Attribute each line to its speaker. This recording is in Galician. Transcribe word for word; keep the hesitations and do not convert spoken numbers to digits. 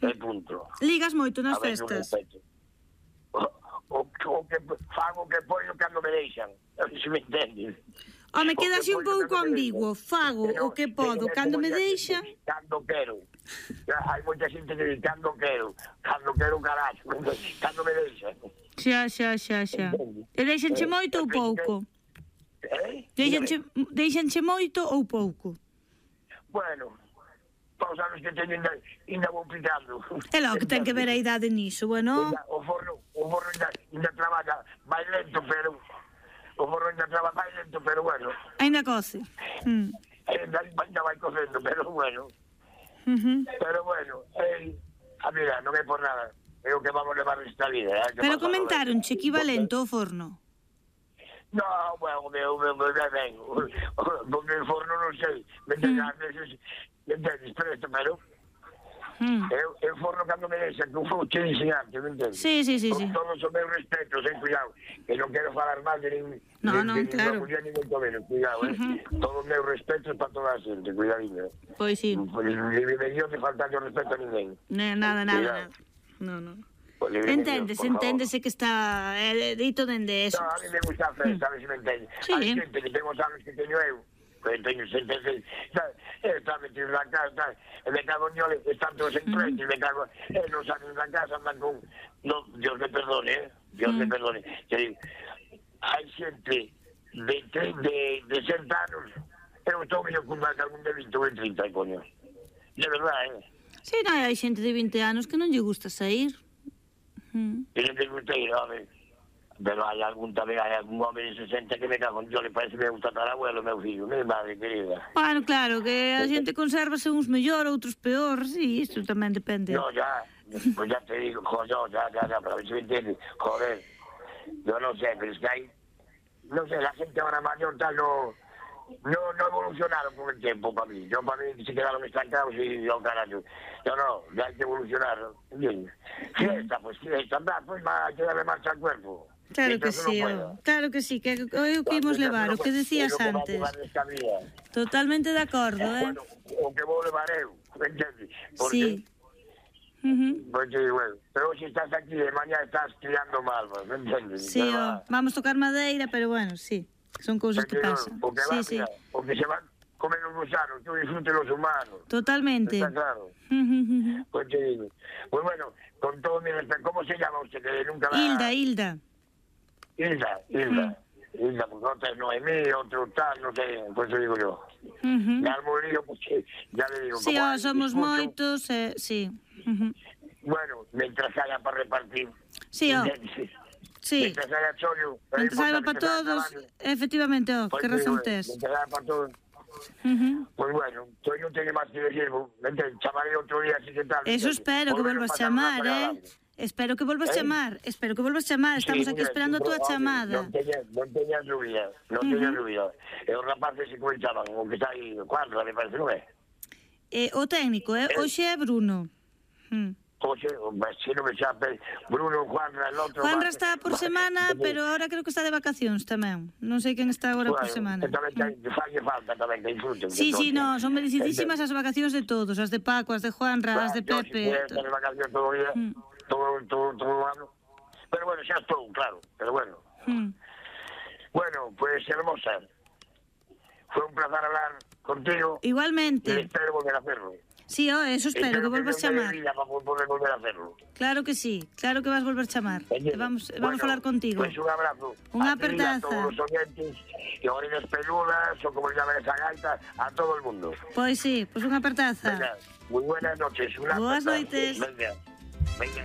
Speaker 1: e punto.
Speaker 2: Ligas moito nas
Speaker 1: A ver, non
Speaker 2: festas?
Speaker 1: respeto. O, o, o que fago que poño cando me deixan, se me entendes.
Speaker 2: Home,
Speaker 1: O que
Speaker 2: quedase un
Speaker 1: poño
Speaker 2: pouco
Speaker 1: cando me
Speaker 2: ambiguo.
Speaker 1: deixan.
Speaker 2: Fago
Speaker 1: Pero,
Speaker 2: o que podo
Speaker 1: pero,
Speaker 2: cando
Speaker 1: como
Speaker 2: me
Speaker 1: ya
Speaker 2: deixan.
Speaker 1: xente, Cando quero. Hai moita xente que dice cando quero. Cando quero, carallo. Cando me deixan.
Speaker 2: Xa, xa, xa, xa. E deixanche moito ou pouco?
Speaker 1: Eh?
Speaker 2: Deixanche, deixanche moito ou pouco?
Speaker 1: Bueno, todos os anos que teño ainda, ainda vou picando.
Speaker 2: É logo que ten que ver a idade niso, bueno.
Speaker 1: Ainda, o forno, o forno ainda, ainda traballa máis lento, pero... O forno ainda traballa máis lento, pero bueno.
Speaker 2: Ainda coce. Mm.
Speaker 1: Ainda, ainda vai cocendo, pero bueno.
Speaker 2: Uh -huh.
Speaker 1: Pero bueno, eh, a mira, non é por nada. É o que vamos levar esta vida. Eh,
Speaker 2: Pero comentaronche equivalente ao forno.
Speaker 1: No, bueno, o meu, o meu, o meu, ben, o, o meu forno non sei, me entendes, mm. veces, me entendes, presto, pero mm. eu, eu forno cando me deixa, que eu fui que ensinante, me entendes?
Speaker 2: Sí, sí, sí,
Speaker 1: Con
Speaker 2: sí.
Speaker 1: todos os meus respetos, eh, cuidado, que non quero falar mal de nin,
Speaker 2: no,
Speaker 1: de,
Speaker 2: no,
Speaker 1: de
Speaker 2: claro.
Speaker 1: ninguna muller, ni moito menos, cuidado, eh, uh -huh. Todos os meus respetos para toda a xente, cuidadinho.
Speaker 2: Pois sí.
Speaker 1: Pois ni me dio de faltar yo respeto a ninguén.
Speaker 2: Ne, nada, nada, nada. No, no. Enténdese, enténdese que está eh, dito dende eso.
Speaker 1: No, a mí me gusta a festa, a ver se me entende.
Speaker 2: Sí.
Speaker 1: Hai xente que ten os anos que teño eu, que teño setenta e seis, está metido na casa, e me cago en Dios, están todos en frente, me cago, e non salen da casa, andan con, no, Dios me perdone, eh, Dios me perdone. Que digo, hai xente de, de, de sesenta anos, eu estou mellor con máis algún de vinte ou de trinta, coño. De verdade, eh.
Speaker 2: Sí, non, hai xente de vinte anos que non lle gusta sair.
Speaker 1: Mm. Y no te gusta ir, hombre. Pero hay algún también, hay algún hombre de sesenta que me cago en yo, le parece que me gusta tal abuelo, meu fillo, mi madre querida.
Speaker 2: Bueno, claro, que a xente consérvase uns mellor, outros peor, sí, isto tamén depende.
Speaker 1: No, ya, pues ya te digo, joder, ya, ya, ya, pero a ver si me entiendes, joder, yo no sé, pero es que hay, no sé, la gente ahora mayor tal no, no, no evolucionaron con el tiempo para mí, yo para mí se quedaron estancados y yo, carajo, yo no, ya hay que evolucionar, ¿entiendes? Fiesta, pues fiesta, anda, pues hay que darle marcha al cuerpo.
Speaker 2: Claro que sí, no claro que sí, que é o que imos levar, o que decías antes. Totalmente de acordo, eh?
Speaker 1: Bueno, o que vou levar eu, entendes?
Speaker 2: Sí.
Speaker 1: Uh -huh. Porque, bueno, pero si estás aquí e mañá estás tirando malvas, entendes?
Speaker 2: Sí, oh, vamos tocar madeira, pero bueno, sí, son cousas que pasan.
Speaker 1: O que
Speaker 2: sí,
Speaker 1: va,
Speaker 2: sí.
Speaker 1: Mira, o que se van comer los gusanos, tú disfrutes los humanos.
Speaker 2: Totalmente.
Speaker 1: Está claro. Pues te digo. Pues bueno, con todo mi respeto, ¿cómo se llama usted? Que nunca va...
Speaker 2: Hilda, Hilda.
Speaker 1: Hilda, Hilda. Mm. Hilda, porque otra es Noemí, otro tal, no sé, pues te digo yo. Uh -huh. Me armo el lío porque ya le digo...
Speaker 2: Sí, oh, somos discurso, moitos, eh, sí. Uh -huh.
Speaker 1: Bueno, mientras haya para repartir...
Speaker 2: Sí, oh. Sí.
Speaker 1: Mientras haya chollo...
Speaker 2: Mientras haya para todos, efectivamente, oh,
Speaker 1: pues
Speaker 2: que razón
Speaker 1: digo,
Speaker 2: tes.
Speaker 1: Mientras haya para todos...
Speaker 2: Uh -huh.
Speaker 1: Pues bueno, yo no tengo más que decir, chamaré otro día así que tal.
Speaker 2: Eso espero que vuelvas a chamar, eh. Espero que volvas a chamar, espero que volvas a chamar, estamos aquí esperando a túa chamada.
Speaker 1: Non teña dúbida, non teña dúbida. E os rapaces se comentaban, o que está aí, cuadro, me parece, non é?
Speaker 2: Eh, o técnico, eh, hoxe é Bruno.
Speaker 1: Hoxe, se non me chape, Bruno, Juanra, el outro...
Speaker 2: Juanra está por semana, pero ahora creo que está de vacacións tamén. Non sei quen está agora por semana.
Speaker 1: Tamén falle falta tamén que disfruten.
Speaker 2: Sí, sí, no, son merecidísimas as vacacións de todos, as de Paco, as de Juanra, as de Pepe.
Speaker 1: Yo si de vacacións todo o día... Todo, todo, todo ano. Pero bueno, xa estou, claro, pero bueno. Hmm. Bueno, pues hermosa, fue un placer hablar contigo.
Speaker 2: Igualmente.
Speaker 1: Y espero volver a hacerlo.
Speaker 2: Sí, oh, eso espero, espero que volvas a chamar.
Speaker 1: Para poder volver a hacerlo.
Speaker 2: Claro que sí, claro que vas volver a chamar. Vamos,
Speaker 1: bueno,
Speaker 2: vamos a hablar contigo.
Speaker 1: Pues un abrazo.
Speaker 2: Unha apertaza.
Speaker 1: A todos os oyentes, e orejas peludas, o como llaman esa gaita, a todo el mundo.
Speaker 2: Pois sí, pues unha apertaza.
Speaker 1: Venga, muy buenas noches. Una
Speaker 2: Boas noites.
Speaker 1: Venga. Venga.